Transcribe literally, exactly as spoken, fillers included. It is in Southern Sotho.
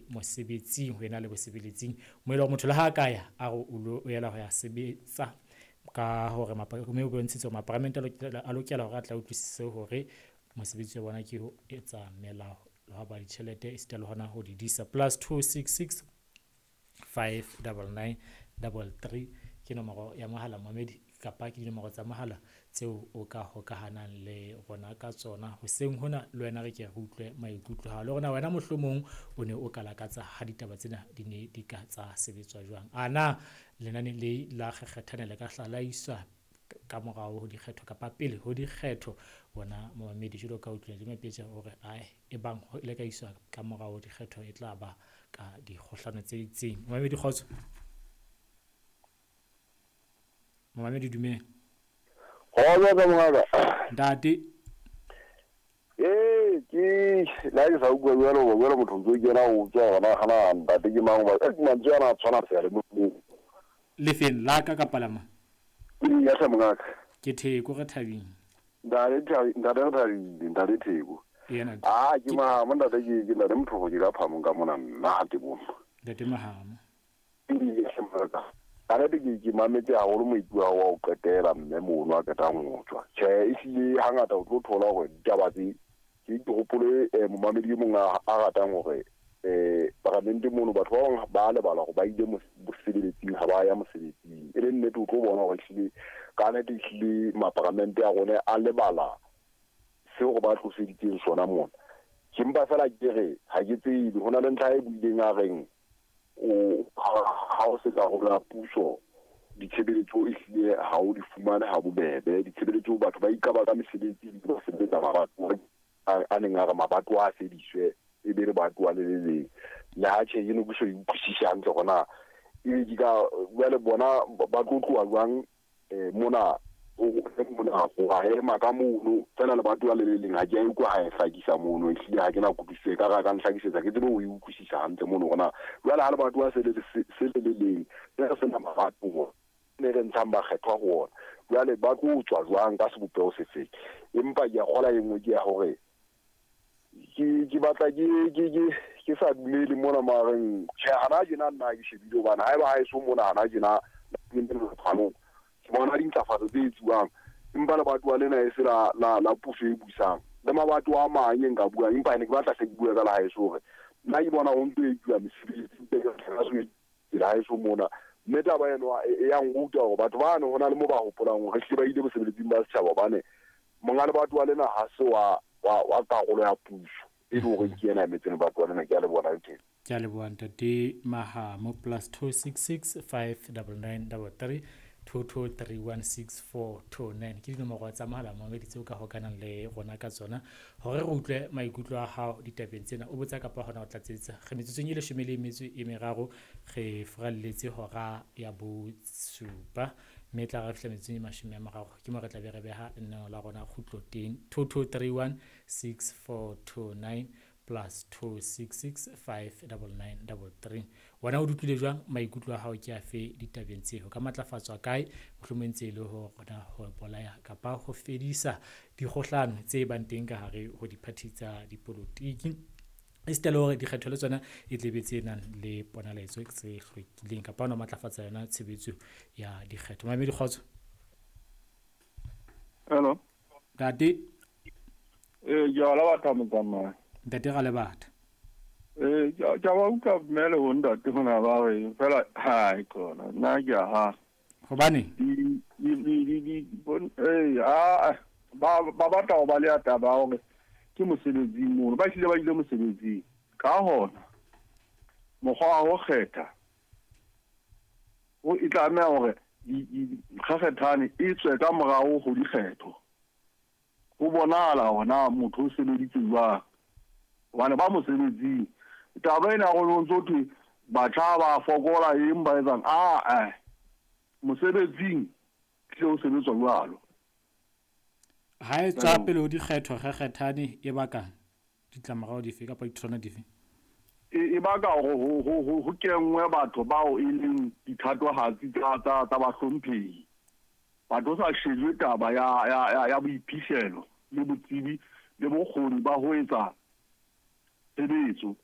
ke mosebetsing ho ena le bosebeletsing mo e leng motho le ha ka ya a re o yela ho ya sebetsa ka hore mme o bontshitse hore maparamente a lokela hore a tla utlwisise hore mosebetsi wa bona ke ho etsa melao le ho ba ditjhelete esita le hona ho di disa. Plus two six six five double nine double three ke nomoro ya mohala momedi kapa ke dinomoro tsa mohala tseo o ka hokahanang le rona ka tsona hoseng hona le wena re ke re utlwe maikutlo ha le rona wena mohlomong o ne o ka lakatsa ha ditaba tsena di ne di ka tsa sebetswa jwang. Ana lenane le la kgekgethane le ka hlalaiswa ka morao ho dikgetho kapa pele ho dikgetho bona momamedi jwalo ka utlwile le mapetja hore ai e bang le ka iswa ka morao ho dikgetho e tla ba ka dikgohlano tse itseng. Momamedi kgotso. Momamedi dumela. Kgotso ka mongaka. Ntate. Eh ke la ke sa utlwa jwalo jwalo motho o kena o tswa hona hana ntate ke mang ba ke mantswe ana a tshwana fela mo. Lefeng la ka kapa la mang? Ya hle mongaka. Ke Theko re thabile. Ntate Thabi ntate re thabile ntate Theko. Yena. Ah ke Mahamo ntate ke ke ntate motho ke ka phamong ka mona nna te bo. Ntate Mahamo. Ya hle mongaka. Ka ke ke mametse haholo moipuo wa ho qetela mme mono a qetang ho tswa. Tjhe ehlile hangata o tlo thola hore ditaba tse ke ke hopole momamedi e mong a ratang hore eh paramente mono batho ba bang ba lebala hore ba ile mosebetsing ha ba ya mosebetsing. E le nnete o tlo bona hore ehlile ka nnete ehlile maparamente a rona a lebala seo ba tloseditseng sona mona. Ke mpa fela ke re ha ke tsebe hona le ntlha e buileng a reng o ha o se karolo ya puso ditshebeletso ehlile ha o di fumane ha bobebe ditshebeletso batho ba ikaba ka mesebetsi ba sebetsa mabato a neng a re mabato a fediswe e be re batho le le leng le ha tjhe eno ke so e utlwisise hantle hona e ke ka jwale bona ba tlo tloha jwang mona o mona ho ema ka mono fela le batho le le leng ha ke a utlwa ha e hlakisa mono ehlile ha ke na kutlwisiso e ka ra ka nhlakisetsa ke tsebe ho e utlwisisa hantle mono hona jwale ha le batho se le se le le leng re sena mabato ne re ntshang bakgethwa ho ona jwale ba tlo tswa jwang ka sebopeho se feng empa ke a kgola e nngwe ke ya hore ke ke batla ke ke ke ke sa dumele mona mareng tjhe hana tjena nna ke shebile hobane haeba ha eso mona hana tjena ke bona dintlafatso tse etsuwang empa le batho ba lena e se la la la puso e busang le mabato a mang e nka buang empa ne ke batla hle ke bue ka la haeso hore nna ke bona ho ntso etsuwa mesebetsi e la haeso mona mme taba eno e ya nruta hore batho bano hona le mo ba hopolang hore hlile ba ile bosebeletsing ba setjhaba hobane monga le batho ba lena ha se wa wa wa karolo ya puso e le hore ke yena emetseng batho ba lena. Ke a le bona teng. Ke a leboha ntate Mahamo. Plus two six six five double nine double three two two three one six four two nine ke dinomoro tsa mohala momamedi tseo ka hokanang le rona ka tsona hore re utlwe maikutlo a hao ditabeng tsena o botsa kapa hona o tlatsetsa. Re metsotsong e leshome le metso e meraro re furalletse hora ya bosupa mme tla re fihla metsotsong e mashome a mararo ke mo re tla be re beha lenaneo la rona kgutlo teng. Two two three one six four two nine plus two six six five double nine double three. Wena o utlwile jwang maikutlo a hao ke afe ditabeng tseo ka matlafatswa kae mohlomong ntse e le ho rona ho bolaya kapa ho fedisa dikgohlano tse bang teng ka hare ho diphathi tsa dipolotiki esita le hore dikgetho le tsona e tlebe tse nang le ponaletso tse hlwekileng kapa hona matlafatsa yona tshebetso ya dikgetho. Mamedi kgotso. Hello. Ntate. Eh ke a la batho motsamai. Ntate ga le batho. Eh ke a ba utlwa mmele ho ntate hona ba re fela ha e khona nna ke a ha. Hobane di di di di bon eh a ba ba batla ho ba le taba hore ke mosebetsing mono ba hlile ba ile mosebetsing ka hona mokgwa wa ho kgetha o e tlameha hore kgekgethane e tswe ka morao ho dikgetho ho bonahala hona motho o sebeditse jwang hobane ba mosebetsing taba ena go ntso thwe batjha ba fokola eng ba etsang a eh mosebetsing tle o sebetswa jwalo. Ha e tswa pele ho dikgetho kgekgethane e baka ditlamorao dife kapa ditholwana dife? E baka hore ho ho ho kenngwe batho bao e leng dithatohatsi tsa tsa tsa bahlomphehi. Batho sa shejwe taba ya ya ya boiphihlelo le botsebi le bokgoni ba ho etsa tshebetso.